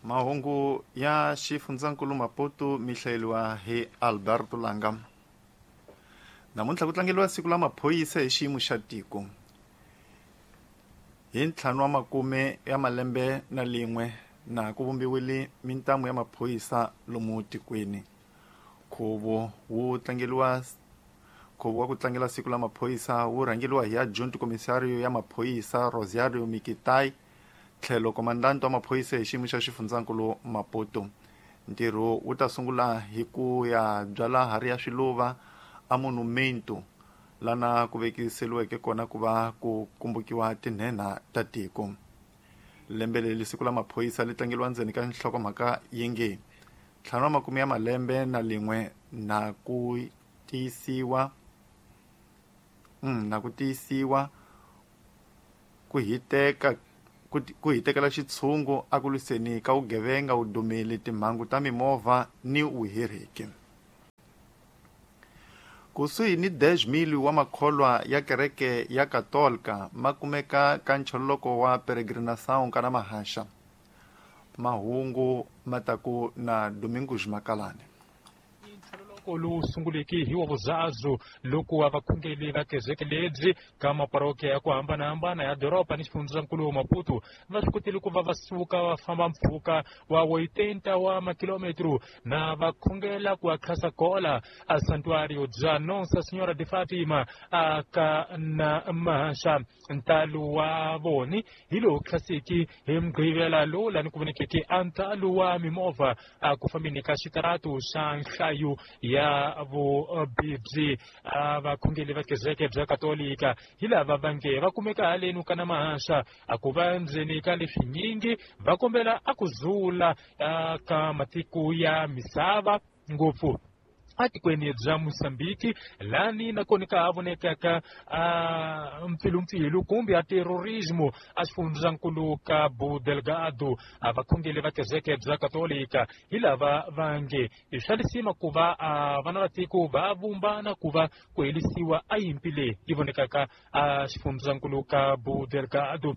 Mahungu ya xifundzankulu Maputo mi hlayeriwa hi Alberto Langa. Namuntlha ku tlangeriwa siku la maphorisa hi xiyimo xa tiko. Hi 5 wa makume ya malembe na lin'we na ku vumbiwile mintamu ya maphorisa lomu tikweni. Nkhuvo wu tlangeriwa nkhuvo wa ku tlangela siku la maphorisa wu rhangeriwa hi adjunct komisario ya maphorisa Rosario Mikitai tlhelo komandante wa maphorisa hi xiyimo xa xifundzankulu Maputo. Ntirho wu ta sungula hi ku ya byala hari ya swiluva a monumento lana ku vekiseliweke kona ku va ku kumbukiwa tinhenha ta tiko. Lembe leri siku la maphorisa li tlangeriwa ndzeni ka nhlokomhaka yi nge 5 wa makume ya malembe na lin'we na ku tiyisiwa na ku tiyisiwa ku hiteka ku hitekela xitshungu a ku lwiseni ka vugevenga, vudumeli, timhangu ta mimovha ni vuhiriki. Kusuhi ni 10,000 wa makholwa ya kereke ya Katolika ma kumeka ka nchololoko wa peregrinação kana mahaxa. Mahungu mataku na Domingos Makalane. Lowu sunguleke hi wa vuzazu loko wa vakhongeli va kezeke lebyi ka maparokiya ya ku hambanahambana ya doroba ni xifundzankulu wa Maputo va swi kotile ku va va suka va famba mpfhuka wa 80 wa makilometro na va khongela ku akhasa kola a santuario bya Nossa Senhora de Fatima a ka na mahaxa. Ntalo wa voni hi lowu khaseki hi mugqivela lowu lani ku vonekeke a ntalo wa mimovha a ku fambeni ka xitaratu xa nhlayo ya vubibyi. A vakhongeli va kereke bya Katolika hi lava va nge va kumeka halenu ka na mahaxa a ku va ndzeni ka leswinyingi va kombela a ku zula ka matiko ya misava ngopfu atikweni bya Mozambique lani nakona ka ha vonekaka a mpfilumpfilu kumbe a terrorismo a xifundzankulu ka Cabo Delgado. A vakhongeli va kereke bya Katolika hi lava va nge i swa lisima ku va a vana va tiko va vumbana ku va ku helisiwa a yimpi leyi yi vonekaka a xifundzankulu ka Cabo Delgado.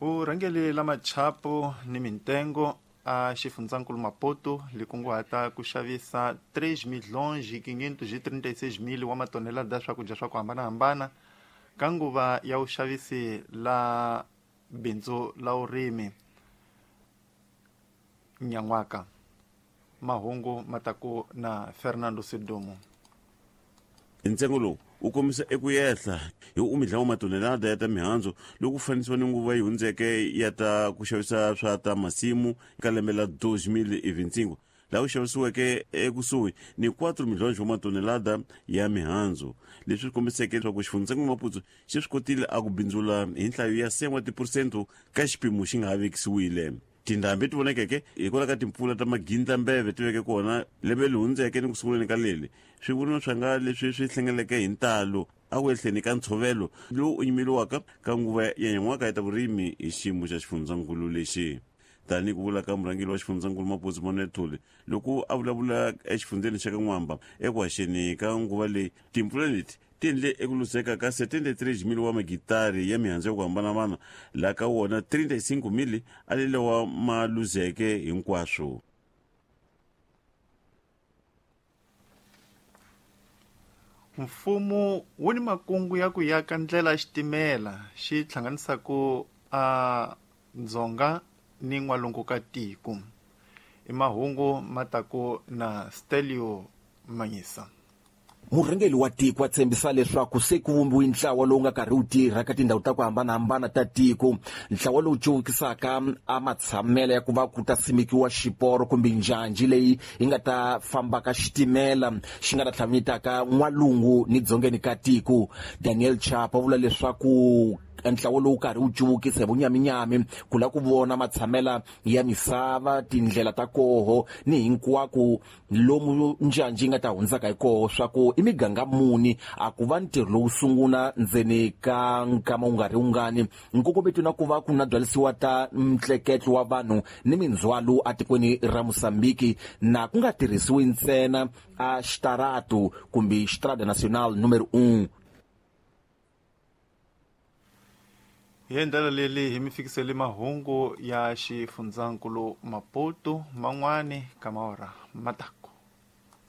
Vurhangeri la machapo ni mintengo a xifundzankulu Maputo li kunguhata ku xavisa 3,536,000 wa matonelada ya swakudya swa ku hambanahambana ka nguva ya vuxavisi la bindzu la vurimi nyan'waka. Mahungu mataku na Fernando Sidumo. Ntsengo lowu wu kombisa eku yehla hi umidla wa matonelada ya ta mihandzu loko ku fanisiwa ni nguva yi hundzeke ya ta ku xavisa swa ta masimu ka lembe la 2025 laha ku xavisiweke ekusuhi ni 4 milhonji wa matonelada ya mihandzu, leswi swi kombiseke leswaku xifundzankulu Maputo xi swi kotile a ku bindzula hi nhlayo ya 1 wa tiphurosente ka xipimo xi nga ha vekisiwile. Tindhambi ti vonekeke hikwalaho ka timpfula ta magindlambeve ti veke kona lembe leri hundzeke ni ku sunguleni ka leri. Swivuriwa swa nga leswi swi hlengeleke hi ntalo a ku ehleni ka ntshovelo lowu u yimeriwaka ka nguva ya nyan'waka ya ta vurimi hi xiyimo xa xifundzankulu lexi. Tanihi ku vula ka murhangeri wa xifundzankulu Maputo Manuel Thuli loko a vulavula exifundzeni xa ka N'wamba eku haxeni ka nguva leyi, timpfula leti ti endle eku luzeka ka 73,000 wa magitari ya mihandzu ya ku hambanahambana, laha ka wona 35,000 a li lawa ma luzeke hinkwaswo. Mfumo wu ni makungu ya ku yaka ndlela ya xitimela xi hlanganisaka a Dzonga ni n'walungu ka tiko. I mahungu ma taku na Stelio Manyisa. Murhangeri wa tiko a tshembisa leswaku se ku vumbiwe ntlawa lowu nga karhi wu tirha ka tindhawu ta ku hambanahambana ta tiko, ntlawa lowu cuvukisaka a matshamelo ya ku va ku ta simekiwa xiporo kumbe njhanji leyi yi nga ta fambaka xitimela xi nga ta tlhavanyetaka n'walungu ni dzongeni ka tiko. Daniel Chapo a vula leswaku ntlawa lowu karhi wu cuvukisa hi vunyaminyami ku lava ku vona matshamela ya misava, tindlela ta koho ni hinkwako lomu njhanji yi nga ta hundzaka hi koho, swa ku i miganga muni a ku va ntirho lowu sungula ndzeni ka nkama wu nga ri wungani. Nkongometo na ku va ku na byalisiwa ta ntleketlo wa vanhu ni mindzhwalo etikweni ra Mozambique na ku nga tirhisiwi ntsena a xitaratu kumbe Estrada Nacional número 1. Hi ndlela leyi hi mi fikisele mahungu ya xifundzankulu Maputo man'wani ka maora mataku.